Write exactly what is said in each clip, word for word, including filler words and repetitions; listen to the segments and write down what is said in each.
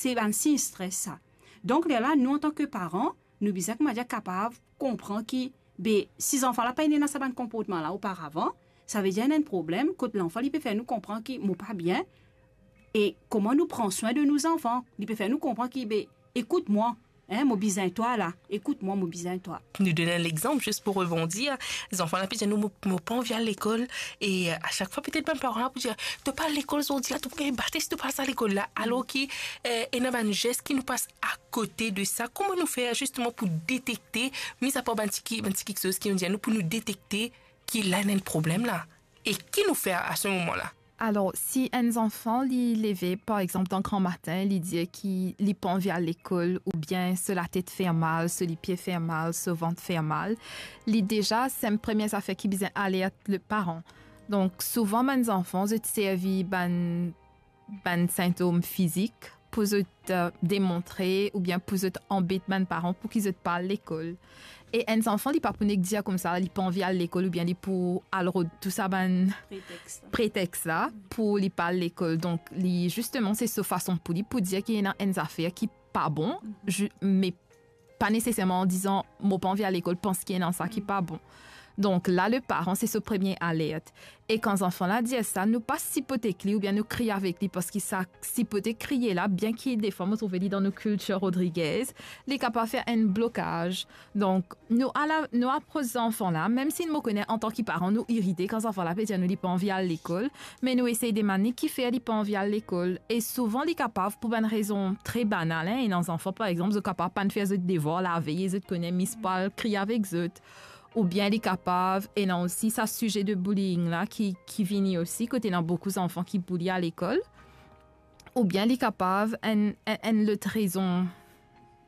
Se bann sign stres sa. Donk, lerla, nou, antan ki paran, nou bizin, koumadir, kapav konpran ki, be, si zanfan la pa ena sa bann konportman la oparavan, savedir ena enn problem, kot lanfan, li pe fer nou konpran ki mo pa bien, e kouma nou pran swin de nou zanfan, li pe fer nou konpran ki, be, ekout mwa, hein, mo bizin twa la, ekout mwa, mo bizin twa. Nou donn enn lexanp, zis pou rebondir. Zanfan la pe dir nou, mo, mo pa anvi al lekol, e, euh, a sak fwa, petet bann paran la pou dir, to pa al lekol zordi la, to pou gagn bate si to pa al sa lekol la. Alor ki, euh, ena bann zes ki nou pas akote de sa. Kouma nou fer zisteman pou detekte, mizapar bann ti ki, bann ti kiksoz ki nou dir nou, pou nou detekte ki la ena enn problem la? E ki nou fer a se moman la? Alor, si enn zanfan, li leve, par exanp, dan gramatin, li dir ki li pa anvi al lekol, oubien so latet fer mal, so lipie fer mal, so vant fer mal, li deza, se premie zafer ki bizin alert le paran. Donk, souvan, bann zanfan, zot servi bann, bann sintom fizik pou zot, euh, demontre oubien pou zot anbet bann paran pou ki zot pa al lekol. E enn zanfan, li pa pou nek dir koumsa, li pa anvi al lekol oubien li pou al rod tou sa bann pretex la, pretex la pou li pa al lekol. Donk, li, zisteman, se so fason pou li pou dir ki ena enn zafer ki pa bon, mhm, zi-, me pa neseserman an dizan, mo pa anvi al lekol, pans ki ena sa ki pa bon. Donk la, le paran, se so premie alert. E kan zanfan la dir sa, nou pa sipote ek li oubien nou kriye avek li, parski sa sipote, kriye la, bien ki defwa mo trouve li dan nou kiltir Rodriguez, li kapav fer enn blokaz. Donk, nou ala, nou apros zanfan la, mem si mo kone antan ki paran, nou irite kan zanfan la pe dir nou li pa anvi al lekol, me nou esey demann li kifer li pa anvi al lekol. E souvan, li kapav pou bann rezon tre banal, hein. Ena zanfan, par exanp, zot kapav pann fer zot devwar lavey, e zot kone mis pa al kriye avek zot. Oubien li kapav, ena osi sa size de bullying la ki, ki vini osi, kot ena boukou zanfan ki bouli a lekol. Oubien li kapav enn, enn, enn lot rezon.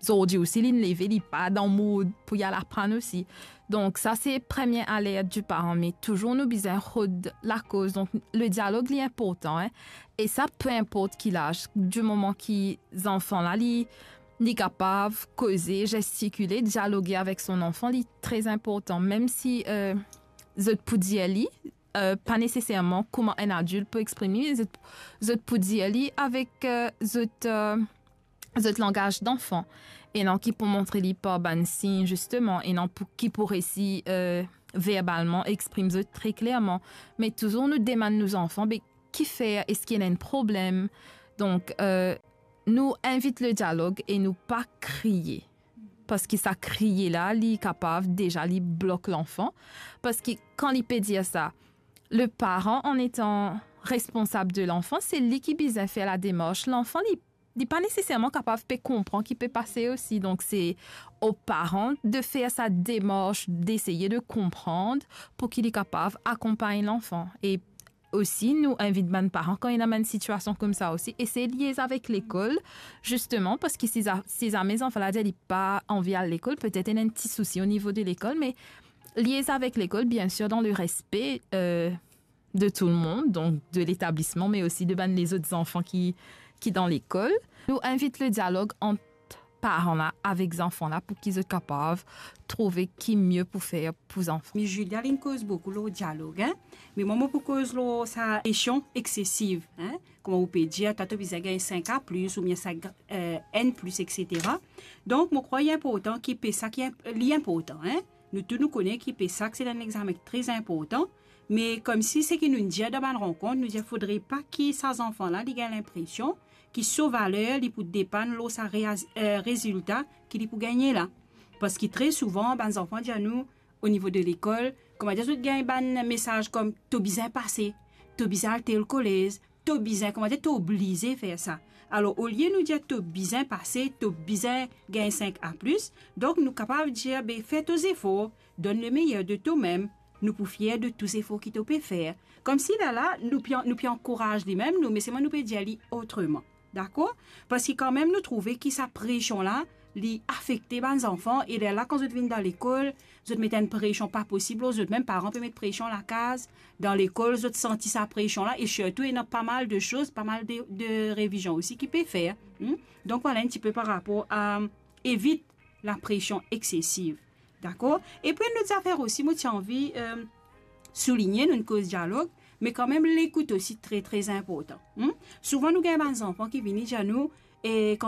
Zordi osi, li leve, li pa dan mood pou li al aprann osi. Donk, sa se premie alert di paran, me touzour nou bizin rod lakoz. Donk, le dialog, li inportan, hein. E sa, pe inport ki laz, di moman ki zanfan la, li, li kapav koze, zestikile, dialoge avek so zanfan, li tre inportan. Mem si, euh, zot pou dir li, euh, pa neseserman kouma enn adilt pou exprim li, zot, zot pou dir li avek, euh, zot, euh, zot langaz danfan, e non ki pou montre li par bann sign, zisteman, e non pou, ki pou resi, euh, verbalman exprim zot tre klerman. Me touzour nou demann nou zanfan, be, kifer, eski ena enn problem? Donk, euh, nou invit le dialog e nou pa kriye. Parski sa kriye la, li kapav deza li blok lanfan. Parski kan li pe dir sa, le paran, an etan responsab de lanfan, se li ki bizin fer la demars. Lanfan, li, li pa neseserman kapav pe konpran ki pe pase osi. Donk, se o paran de fer sa demars, deseye de konpran pou ki li kapav akonpagn lanfan. E osi, nou invit bann paran, kan ena bann sitiasion koumsa osi, esey liez avek lekol, zisteman, parski si za-, si zame zanfan la dir li pa anvi al lekol, petet ena enn ti sousi o nivo de lekol, me liez avek lekol, biensir, dan le respe, euh, de tou le mond, donk de letablisman, me osi de bann lezot zanfan ki, ki dan lekol. Nou invit le dialog ant paran la avek zanfan la pou ki zot kapav trouve ki mie pou fer pou zanfan. Me Julia, li'nn koz boukou lor dialog, hein? Me mwa, mo pou koz lor sa presion eksesiv, hein? Kouma ou pe dir, twa to bizin gagn sink A plis oubien sink, euh, N plis, et cetera. Donk, mo krwar li inportan ki pe sa ki inp-, li inportan, hein? Nou tou nou kone ki PSAQ se enn examen tre inportan, me koumsi seki nou dir dan bann rankont, nou dir fodre pa ki sa zanfan la, li gagn linpresion ki so valer, li pou depann lor sa reaz-, eh, rezilta ki li pou gagne la. Parski tre souvan, bann zanfan dir nou, o nivo de lekol, koumadir zot gagn bann mesaz kom, to bizin pase, to bizin al tel kolez, to bizin, koumadir, to oblize fer sa. Alor, olie nou dir to bizin pase, to bizin gagn sink A plis, donk nou kapav dir, be, fer to zefor, donn le meyer de to mem, nou pou fier de tou zefor ki to pe fer. Koumsi la la, nou pe, nou pe ankouraz li mem, nou, me selman nou pe dir li otreman. Dakor? Parski kanmem nou trouve ki sa presion la, li afekte bann zanfan, e lerla kan zot vinn dan lekol, zot met enn presion pa posib lor zot mem, paran pe met presion lakaz, dan lekol, zot santi sa presion la, e sirtou, ena pa mal de soz, pa mal de, de revizion osi ki pe fer. Hmm? Donk, vwala enn tipe par rapor a, evit la presion eksesiv. Dakor? Epi enn lot zafer osi, mo ti anvi, eh, souligne, nou'nn koz dialog, me kanmem lekout osi tre, tre inportan. Hmm? Souvan nou gagn bann zanfan ki vini dir nou, E kan